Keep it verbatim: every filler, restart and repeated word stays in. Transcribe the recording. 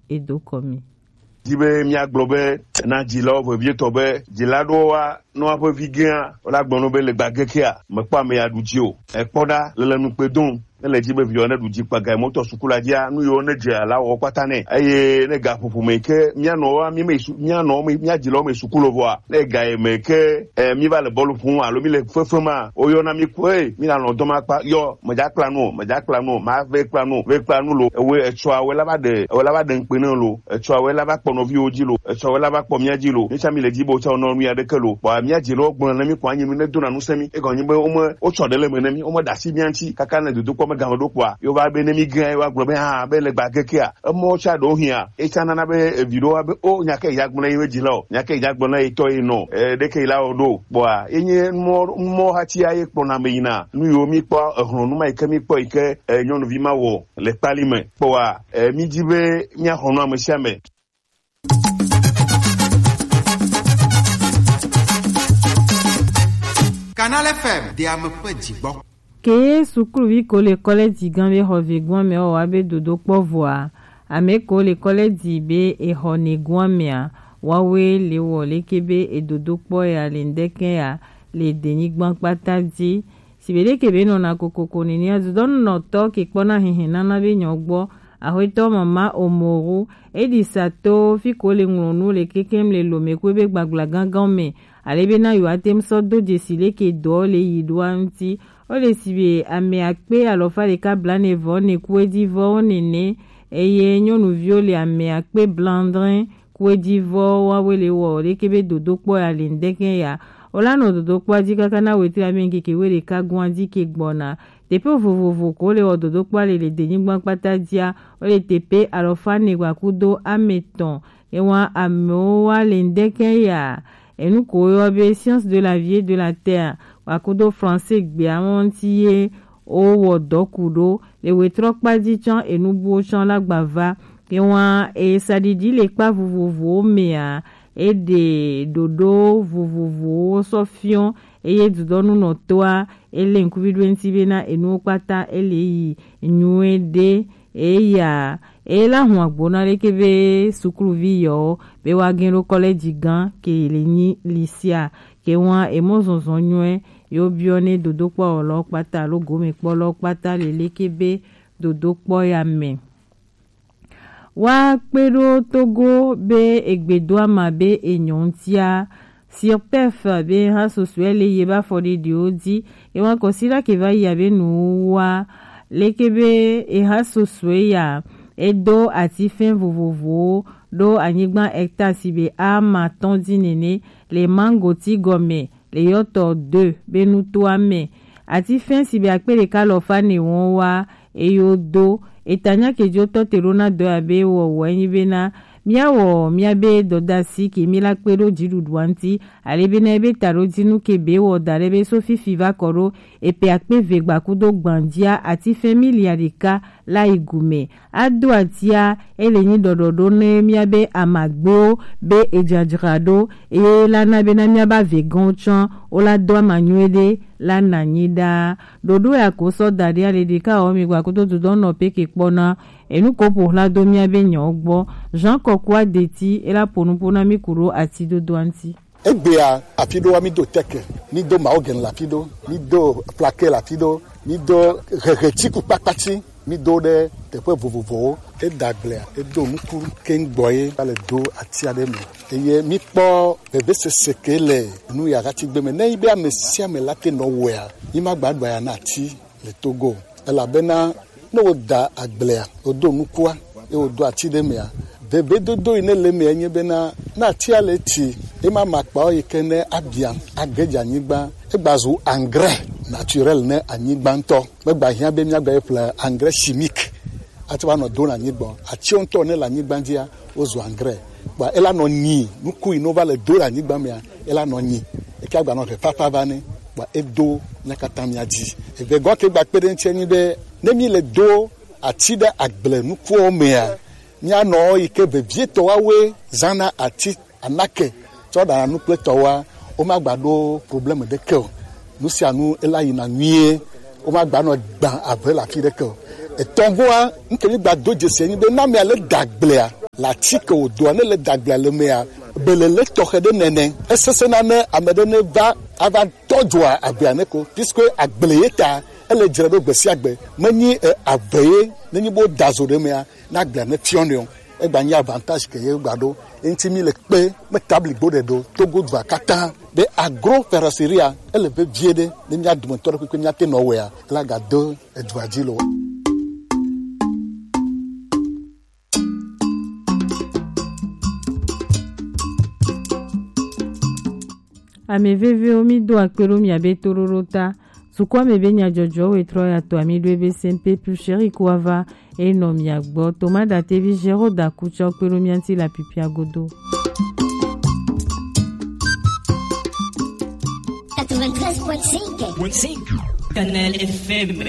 edo kɔ mi. Di be míagblɔ be na dzilawo vevietɔ be dzila ɖewo wa nɔ woƒe vi gea, wola gblɔ nɔ be le gbagekea mekpɔ ame ya ɖu dzi o. Ekpɔ ɖa le le nukpe dom. Ne le dzi be viwo ne ɖu dzi kpaga mɔtɔ suku la dzia, nu yiwo ne dze la wɔ kpata nɛ. Eye ne gaƒoƒo me ke mía nɔwoa, mí me su-, mía nɔ me, mía dzilawo me suku lo vɔa, ne ga yi me ke, eh, mí va le bɔlu ƒom alo mí le fefe ma, woyɔna mí ko, "Ey, mí na lɔ dɔma kpa, yɔ, medza kpla nu o, medza kpla nu o, ma ve kpla nu o, ve kpla nu lo." Ewe etsɔa, ewe la va ɖe, ewe la va ɖe ŋukpe ne lo, etsɔa, ewe la va kpɔ nɔviwo dzi lo, etsɔa, ewe la va kpɔ mía dzi lo. Mí tsã mí le dzi be wotsã wonɔ nu ya ɖeke lo. Kpɔa mía dzilawo gblɔ ne mí kɔ anyi nu ne dona nu se mí. Egɔnye be wome, wotsɔ ɖe le me ne mí, wome ɖe asi mía ŋuti kaka ne dodokpɔ me game ɖo kpɔa, yewo va be ne mí gã, yewo agblɔ be, "Ah, be le gbagekea, emɔ tsa ɖewo hia." Etsa nana be evi ɖewo be, "O, nya ke ya gblɔ ye dzi la o, nya ke ya gblɔ na ye tɔ ye nɔ, eh, ɖeke la o ɖo." Kpɔa, enye mɔ, mɔ hati ya ye kpɔna me yina. Nu yiwo mí kpɔ, ehlɔnu ma yi ke mí kpɔ yi ke, eh, nyɔnuvi ma wɔ le kpali me. Kpɔa, eh, mí dzi be mía xɔ nu ame sia ame. Canal F M, de ame ƒe dzigbɔ. Ke sukluvi ko le kɔlɛji gã be xɔ ve gɔn mɛ wa be dodokpɔ vɔa, ame ko le kɔlɛji be exɔ ne gɔn mɛa, wawe le wɔ leke be edodokpɔ ya le ŋdɛkɛ ya le denyigban kpata dzi. Sigbe ɖe ke be nɔna kokoko nɛnɛ, azudɔnunɔtɔ ke kpɔna hihi nana be nyɔ gbɔ, Axwetɔ Mama Omoru, e ɖi sa to fi ko le ŋlɔ nu le kekem le lome kwe be gbagbla gangan me, ale be na yewoa te ŋu sɔ do dzesi leke dɔ le yi ɖoa ŋuti. Wo le sigbe ame akpe alɔfa ɖeka blaene vɔ ne ku edzi vɔ wo nɛnɛ, eye nyɔnuviwo le ame akpe blaadre ku edzi vɔ wawe le wɔ leke be dodokpɔ ya le ŋdɛkɛ ya. Wola nɔ dodokpɔa dzi kaka na wetri ame ŋkeke we ɖeka gɔn dzi ke gbɔna. Teƒe vovovo ko le wɔ dodokpɔa le le denyigba kpata dzia, wo le teƒe alɔfa ne gbakudo ame etɔ̃. Ewa amewo wa le ŋdɛkɛ ya. Enu ko woyɔ be science de la vie et de la terre, gbakudo français gbea ŋuti ye wowɔ dɔ ku ɖo. Le wetrɔkpa dzi tsã enu buwo tsã la gba va. Ewa esaɖiɖi le kpa vovovowo mea, eɖe ɖoɖo vovovowo sɔ fiɔ, eye dudɔnunɔtɔa ele ŋkuvi ɖo eŋuti bena enuwo kpata ele yi nyuie ɖe. Eya ela hu agbo na leke be sukluvi yewo be woage ɖo kɔlɛji gã ke le nyi lisia, ke wa emɔ zɔzɔ nyuie yewo biɔ ne dodokpɔwɔlawo kpata alo gomekpɔlawo kpata le leke be dodokpɔ ya me. Wa kpe ɖo Togo be egbedoama be enyɔ ŋutia, Sirpef be ha susue le ye ba fɔɖiɖiwo dzi. Ewa kɔsila ke va yi abe nuwa leke be eha susue ya, edo atifɛn vovovowo ɖo anyigba hectare si be ama tɔn dzi nene le mango ti gɔme le yɔtɔ deux be nutoa me. Atifɛn si be akpe ɖeka alɔfa ne wɔn wa eyo do. Etanya kejo tɔ te ɖo na dɔ ya be wɔwɔ enyi bena míawɔ míabe dɔdasi ke míla kpe ɖo dziɖuɖua ŋuti, ale bena ebe taɖodzinu ke be wɔ da ɖe be so fifi va kɔ ɖo epe akpe ve gbakudo gbandia atifɛn milia ɖeka la yi gume. Ado atia, ele nyi ɖɔɖɔɖo ne míabe amagbewo be edzadzra ɖo, eye la na bena míabe avegɔnwo tsã wola do ama nyuie ɖe la na nyi ɖaa. Ɖoɖo ya ko sɔ da ɖi ale ɖeka wɔ mi gbakudo dudɔ nɔ pe ke kpɔna enu ko ƒo xla do míabe nyawo gbɔ. Jean Kɔkua Deti ela ƒo nuƒo na mí ku ɖo atidodoa ŋuti. Egbea afi ɖoa mí do teke, mí do mawo gɛn le afi ɖo, mí do flake le afi ɖo, mí do hehe tsiku kpakpatsi, mí do ɖe teƒe vovovowo. Eda agblea, edo nuku keŋ gbɔ ye va le do ati aɖe me. Eye mí kpɔ vevesese ke le nu ya ati gbe me. Ne yi be ame sia ame la te nɔ wɔea, mí ma gba ɖo aya na ati le Togo o. Elabena ne woda agblea, wodo nukua, ye wodo ati ɖe mea, vevedodo yi ne le mea nye bena, ne atia le eti, ema makpawo yi ke ne abia, age dze anyigba, egbazu engrais naturel ne anyigba ŋutɔ. Megba hiã be míagba ye ƒle engrais chimique ate va nɔ do le anyigba o. Atiwo ŋutɔ ne le anyigba dzia, wozu engrais. Kpa ela nɔ nyi, nuku yi ne wova le do le anyigba mea, ela nɔ nyi. Eke agba nɔ ʋe fafa va nɛ, kpa edo mía katã mía dzi. Eve gɔ̃ ke gba kpe ɖe eŋuti enyi be, ne mí le do ati ɖe agble nukuwo mea, míanɔ yi ke vevietɔ woawoe zãna ati anake tsɔ ɖana nu kple tɔwoa, womagba ɖo problème ɖeke o. Nu sia nu ela yina nyuie, womagba nɔ gbã ave le afi ɖeke o. Etɔ̃goa, nu ke mí gba do dzesi enyi be, ne amea le da agblea, La ti ke wòdoa ne le dagblea le mea, belele tɔxɛ ɖe nɛnɛ. Esesẽna ne ame ɖe neva ava tɔ dzoa agblea ne ko, puisque agble ye ta ele dzra ɖo gbe sia gbe. Menyi eh, ave ye, nenyi bo da zo ɖe mea, na agblea ne fiɔ ne o. Egba nyi avantage ke ye gba ɖo. Eŋti mi le kpe me tabli gbo ɖe ɖo Togo dua katã. Be agro ferraseria ele vevie ɖe ne mía dometɔ ɖe kpekpe mía te nɔ wɔea, la ga do edua dzi lo. Ame vevewo, mído akpe ɖo mia be toɖoɖo ta. Dukɔa me be nyadzɔdzɔwo e trɔ ya to ami ɖo ebe sempe plus chéri ko ava e nɔ mia gbɔ. Toma Datevi Géraud Dakutsɔ kpe ɖo mia ŋuti le apipia godo. Quatre-vingt-treize point cinq. Canal F M.